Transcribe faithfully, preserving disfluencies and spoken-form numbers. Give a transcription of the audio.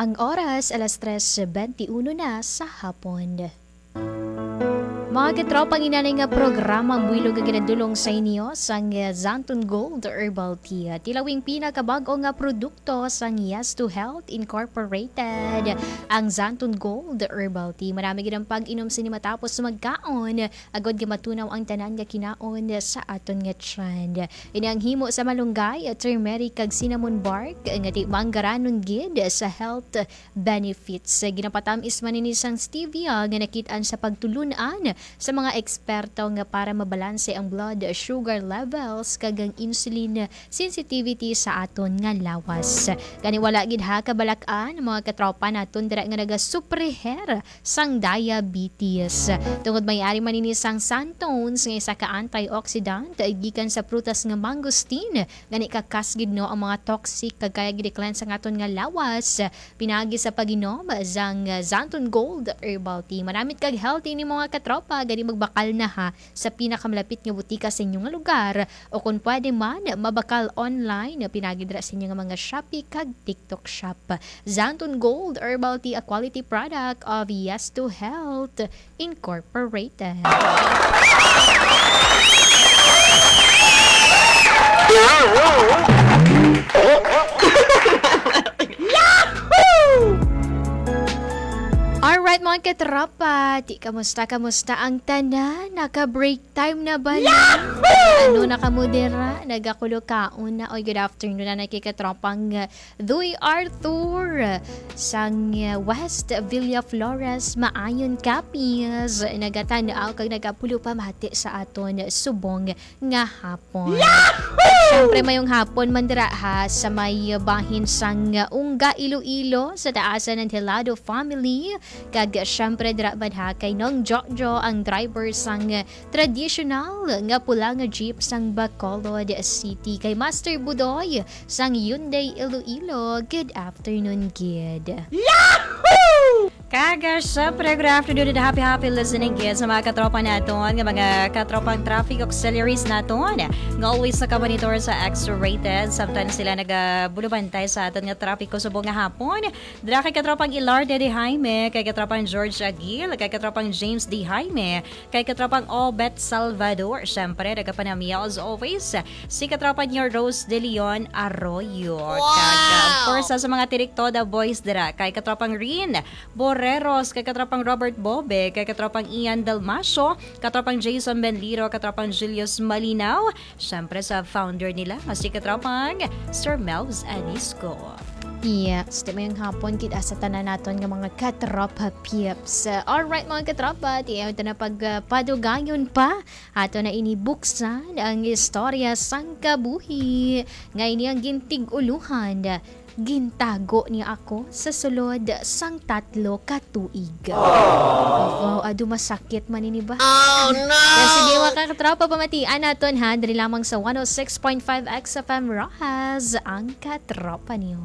Ang oras, alas tres benti uno na sa hapon. Mga katropa, ang inanay nga programa ang buhilog nga ginadulong sa inyo sang, eh, Xanthone Gold Herbal Tea. Tilawing pinakabag-o nga produkto sang Yes to Health Incorporated, ang Xanthone Gold Herbal Tea. Marami gid ang pag-inom sini matapos magkaon, agod nga matunaw ang tanan nga kinaon sa aton nga tiyan. Ini ang himo sa malunggay, turmeric, kag cinnamon bark nga di manggaranon gid sa health benefits. Ginapatamis man ini sang stevia nga nakit-an sa pagtulun-an sa mga eksperto nga para mabalanse ang blood sugar levels kag ang insulin sensitivity sa aton nga lawas. Gani, wala gid ha kabalak-an, mga katropa naton dira nga nagasufriher sang diabetes. Tungod may ari man ini sang xanthones nga isa ka antioxidant gikan sa prutas nga mangosteen, gani kakas gid, no, ang mga toxic kag kaya gid i-cleanse ang aton nga lawas. Pinagi sa pag-inom sang, uh, Xanthone Gold Herbal Tea. Manamit kag healthy ni mga katropa, gani magbakal na ha sa pinakamalapit nga butika sa inyo nga lugar, o kung pwede man, mabakal online, pinagi dira sa inyo nga mga Shopee kag TikTok shop. Xanthone Gold Herbal Tea, a quality product of Yes to Health Incorporated. Alright, mga katropa, di, kamusta, kamusta ang tanan? Naka-break time na ba na? Yahoo! Ano na kamo dira? Nagakulo kaon na. Oy, good afternoon na, nakikatropang, uh, Duy Arthur sang, uh, West Villa Flores, Maayon, Capiz. Nagatan-aw kag nagapulo pamati sa aton subong nga hapon. Yahoo! Siyempre, mayong hapon man dira ha, sa may bahin sang Ungga, Iloilo, sa taasan ng Helado family. Kag siyempre, dira man ha kay Nong Jojo, ang driver sang traditional nga pula nga jeep sang Bacolod City. Kay Master Budoy sang Hyundai Iloilo, good afternoon gid. Yahoo! Kag, ah, syempre, good afternoon and happy, happy listening gid sa mga katropa naton, nga mga katropang traffic auxiliaries naton, nga always nakamonitor sa X-Rated. Samtang sila nagabulubantay sa aton nga trapiko subong nga hapon. Dira kay katropang Ilarde de Jaime, kay katropang George Aguil, kay katropang James de Jaime, kay katropang Obet Salvador. Syempre, nagapanamiyaw as always, si katropa niyo Rose de Leon Arroyo. Kag, ah, of Wow! course, sa, sa mga Tirik Toda boys dira, kay katropang Rin Borreros, kay katropang Robert Bobe, kay katropang Ian Dalmacio, katropang Jason Benliro, katropang Julius Malinaw, syempre sa founder nila, nga si katropang Sir Melvs Anisco. Yes, di mayong hapon kita sa tanan naton nga mga katropa peeps. Alright, mga katropa, di ito na pag, ah, padugayon pa. Ato na ini buksan ang istorya sang kabuhi. Nga ini ang gintig-uluhan. Gintago niya ako sa sulod sang tatlo ka tuig. Wow, adu, masakit man ini ba? Oh, no! Pero sige, mga katropa, pamatian naton, ha, diri lamang sa one oh six point five X F M Roxas, ang katropa niyo.